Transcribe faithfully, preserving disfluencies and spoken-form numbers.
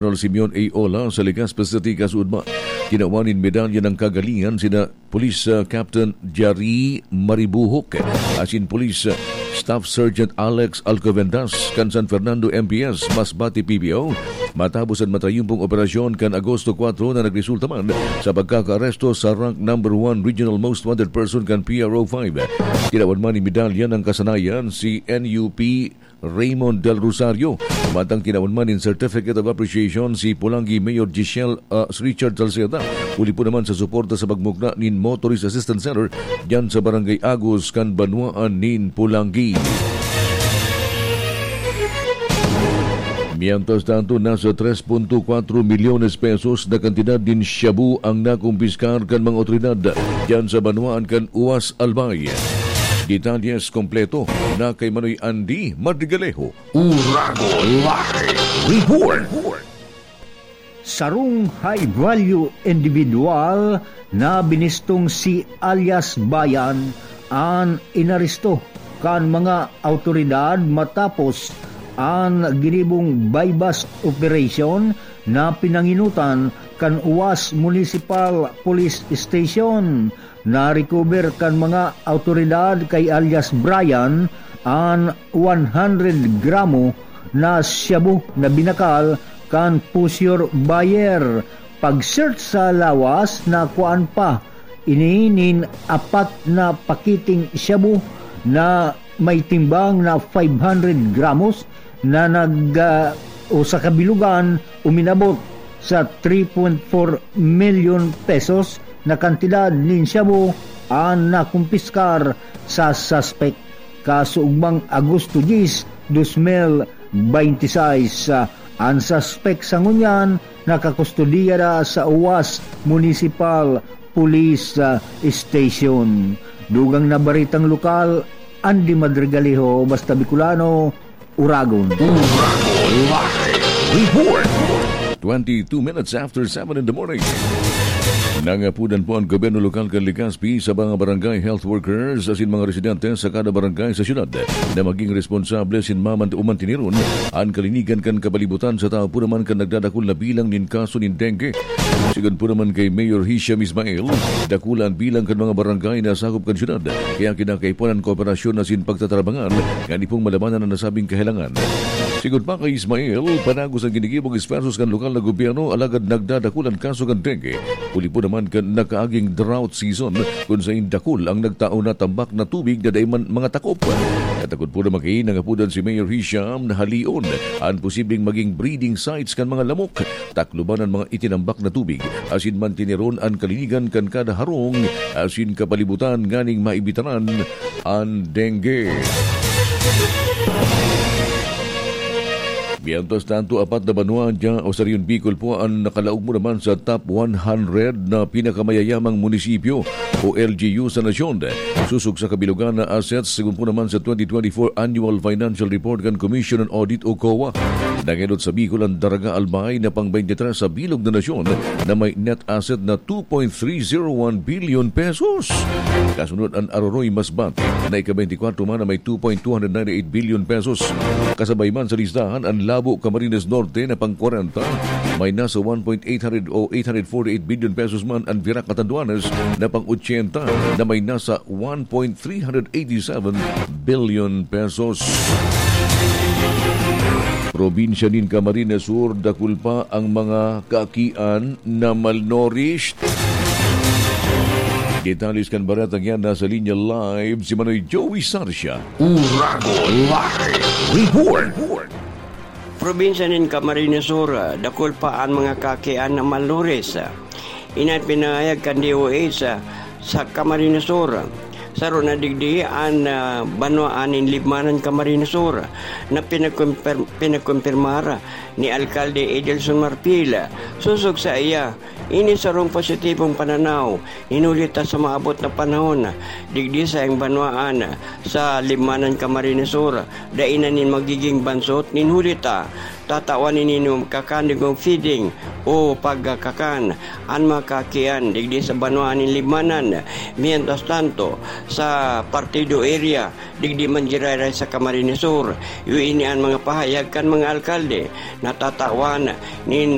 General Simeon A. Ola sa Legazpi City, kasuodma. Kinawan nin medalya ng kagalingan sina Police, ah, Captain Jari Maribuhok asin Police, ah, Staff Sergeant Alex Alcobendas kan San Fernando M P S, Masbate P B O, matapos an matayumpong operasyon kan Agosto kwatro na nagresulta man sa pagkakaaresto sa rank number one regional most wanted person kan P R O five. Kinawan man nin medalya ng kasanayan si N U P Raymond Del Rosario. Mantang kinawan man nin Certificate of Appreciation si Polangui Mayor Giselle, ah, Richard Salceda, huli po naman sa suporta sa pagmukna nin Motorist Assistance Center diyan sa Barangay Agus kan banwaan nin Polangui. Mientras tanto, nasa tres punto kwatro milyones pesos na kantidad nin shabu ang nakumpiskar kan mga otoridad diyan sa banwaan kan Uwas, Albay. Detalles kompleto na kay Manoy Andy Madrigalejo. Uragon Live Report. Sarong high-value individual na binistong si alias Bayan an inaresto kan mga awtoridad matapos an ginibong buy-bust operation na pinanginutan kan Uwas Municipal Police Station. Na-recover kan mga awtoridad kay alias Brian an one hundred gramo na shabu na binakal kan poseur buyer. Pag-search sa lawas, nakuhaan pa ini nin apat na pakiting shabu na may timbang na five hundred gramos na nag, ah, o sa kabilugan uminabot sa three point four milyon pesos na kantidad nin shabu an nakumpiskar sa suspek. Kasuugmang Agosto diyes, dos mil benti seis, ah, an suspek sa ngunyan nakakustodiya na sa Uwas Municipal Police, ah, Station. Dugang na baretang lokal, Andy Madrigaliho, Basta Bicolano, Uragon. Uragon Live Report. Twenty-two minutes after seven in the morning. Nangapudan po ang gobyerno lokal kan Legazpi sa mga barangay health workers asin mga residente sa kada barangay sa syudad na maging responsable asin maman-, o mantiniron an kalinigan kan kapalibutan sa tahaw po naman kan nagdadakul na bilang nin kaso nin dengue. Sigon po naman kay Mayor Hisham Ismail, dakula an bilang kan mga barangay na sakop kan syudad, kaya kinakaipuhan an kooperasyon asin pagtatrabangan ngani pong malabanan an nasabing kahelangan. Sigon pa kay Ismail, panagos an ginigibong esfuerzos kan lokal na gobyerno, alagad nagdadakul an kaso kan dengue, huli po naman kan nakaaging drought season, kun sain dakul ang nagtao na tambak na tubig na dai man mga takop. Katakod po na magkain ang apudan si Mayor Hisham na halion an posibleng maging breeding sites kan mga lamok, takloban an mga itinambak na tubig, asin mantiniron an kalinigan kan kada harong asin kapalibutan nganing maibitaran an dengue. Mientras tanto, apat na banwa dya o sa Rehiyon Bicol po an nakalaog mo naman sa top one hundred na pinakamaya-yamang munisipyo o L G U sa nasyon. Susog sa kabilugan na assets, sigon po naman sa twenty twenty-four Annual Financial Report kan Commission on Audit o COA. Nangenot sa Bicol an Daraga Albay na pang-twenty-three sa bilog na nasyon na may net asset na two point three zero one billion pesos. Kasunod an Aroroy Masbate na ika-twenty-four man na may two point two hundred ninety-eight billion pesos. Kasabay man sa listahan an Labo, Camarines Norte na pang-kwarenta, may nasa one point eight hundred o eight hundred forty-eight billion pesos man. An Virac, Catanduanes na pang-ochenta na may nasa one point three hundred eighty-seven billion pesos. Probinsya nin Camarines Sur, dakul pa ang mga kaakian na malnourished. Detalles kan baretang yan, nasa linya live si Manoy Joey Sarcia. Uragon Live Report. Probinsya nin Camarines Sur, dakul pa an mga kaakian na malnourished. Ini an pinahayag kan D O H sa Camarines Sur. Saro na digdi an, ah, banwaan nin Libmanan, Camarines Sur, na pinagkumpir-, pinagkumpirmar ni Alkalde Edelson Marfil. Sosog saiya, Ini sarong positibong pananaw, nin huli ta sa maabot na panahon, digdi sa iyang banwaan, sa Libmanan, Camarines Sur, dai na nin magiging bansot nin huli ta tatawan nin magkakan digong feeding o pagkakakan an mga kaakian digdi sa banwaan nin Libmanan. Mientras tanto, sa Partido area, digdi man giraray sa Camarines Sur, iyo ini an mga pahayag kan mga alkalde na tatawan nin